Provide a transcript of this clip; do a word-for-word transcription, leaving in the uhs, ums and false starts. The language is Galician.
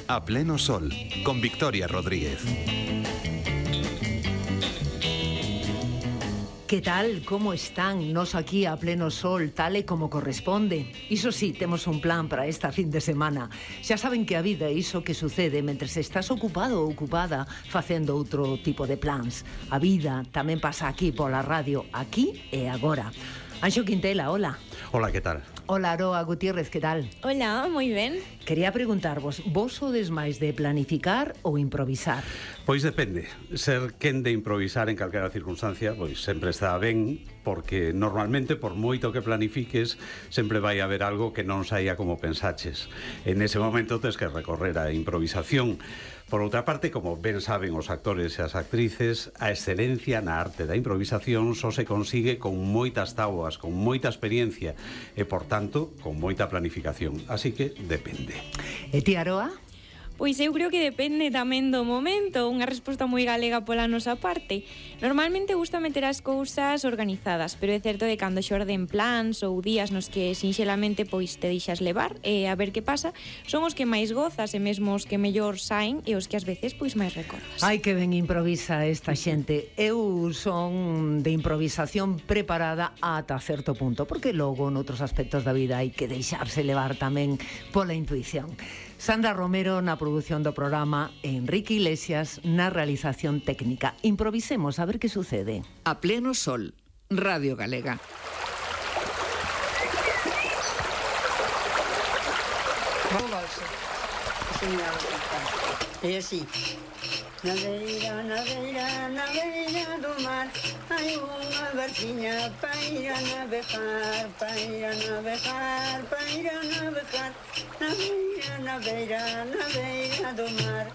A pleno sol, con Victoria Rodríguez. Que tal? Como están? Nos aquí a pleno sol, tal e como corresponde. Iso sí, temos un plan para esta fin de semana. Xa saben que a vida é iso que sucede mentre estás ocupado ou ocupada facendo outro tipo de plans. A vida tamén pasa aquí pola radio, aquí e agora. Anxo Quintela, hola. Hola, que tal? Hola, Aroa Gutiérrez, que tal? Hola, moi ben. Quería preguntarvos, vos sodes máis de planificar ou improvisar? Pois depende. Ser quen de improvisar en calquera circunstancia, pois sempre está ben, porque normalmente, por moito que planifiques, sempre vai haber algo que non saia como pensaches. En ese momento tens que recorrer a improvisación. Por outra parte, como ben saben os actores e as actrices, a excelencia na arte da improvisación só se consigue con moitas táboas, con moita experiencia e, por tanto, con moita planificación. Así que depende. E ti, Aroa? Pois eu creo que depende tamén do momento, unha resposta moi galega pola nosa parte. Normalmente gusta meter as cousas organizadas, pero é certo que cando xorden plans ou días nos que sinxelamente pois te deixas levar e a ver que pasa, son os que máis gozas e mesmo os que mellor saen e os que ás veces pois máis recordas. Ai, que ben improvisa esta xente. Eu son de improvisación preparada ata certo punto, porque logo noutros aspectos da vida hai que deixarse levar tamén pola intuición. Sandra Romero na produción do programa, Enrique Iglesias na realización técnica. Improvisemos a ver que sucede. A pleno sol, Radio Galega. E así. Na beira, na beira, na beira do mar hai unha barquiña para ir a navegar, para ir a navegar, para ir a navegar. Na beira, na beira, na beira do mar.